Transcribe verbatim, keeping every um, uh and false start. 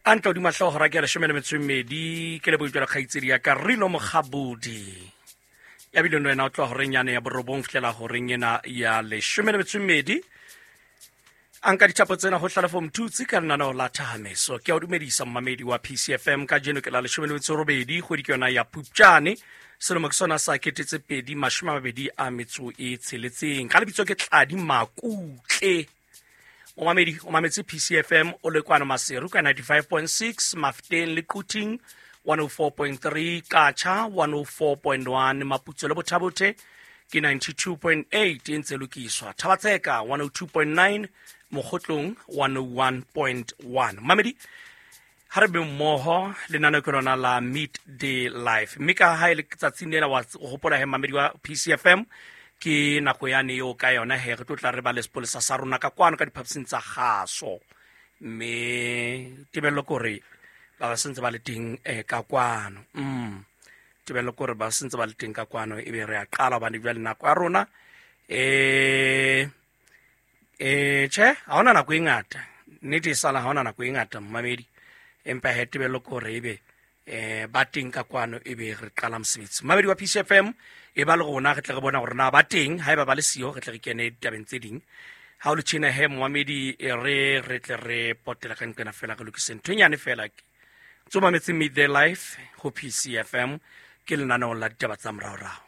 A ntla hodima hlooho hora ke ya leshome le metso e mmedi, ke lebohile jwalo kgaitsedi ya ka Rino Mokgabudi. Ya bileng le wena o tloha horeng yane ya borobong fihlela horeng ena ya leshome le metso e mmedi. A nka dithapo tsena ho Hlalefo Mthutsi ka lenaneo la Thahameso. Ke a o dumedisa mmamedi wa P C F M, kajeno ke la leshome le metso e robedi, kgwedi ke yona ya Phupjane, selemo ke sona sa kete tse pedi mashome a mabedi a metso e tsheletseng. Ka lebitso ke Tladi Makutle. O mamedi, o mametse P C F M o le kwano Maseru ka ninety-five point six, Mafteng le Quthing one oh four point three, Qacha one oh four point one, Maputsoe le Botha-Bothe ke ninety-two point eight e ntse lokiswa, Thaba-Tseka one oh two point nine, Mokhotlong one oh one point one. Mamedi, ha re be mmoho lenaneo ke lona la Midday Life, mme ka ha e le tsatsing lena wa hopola he mamedi wa P C F M ke nako yane eo ka yona he re tlo tla re ba le sepolesa sa rona ka kwano ka diphaposing tsa kgaso, mme tebello ke hore ba ba sentse ba le teng, eh, ka kwano. Mm. Tebello ke hore ba sentse ba le teng ka kwano, ebe re a qala hobane jwale nako ya rona, eh, eh, tjhe, ha hona nako e ngata. Nnete e sala ha hona nako e ngata mmamedi, empa he tebello ke hore ebe, eh, ba teng ka kwano ebe re qala mosebetsi. Mmamedi wa P C F M e ba le rona, re tle re bona hore na ba teng, haeba ba le siyo re tle re kene ditabeng tse ding. Ha o le tjena he momamedi, e re re tle re potela ka nqena fela, re lokise ntho e nyane fela. Tso mametse Midday Life ho P C F M, ke lenaneo la ditaba tsa moraorao.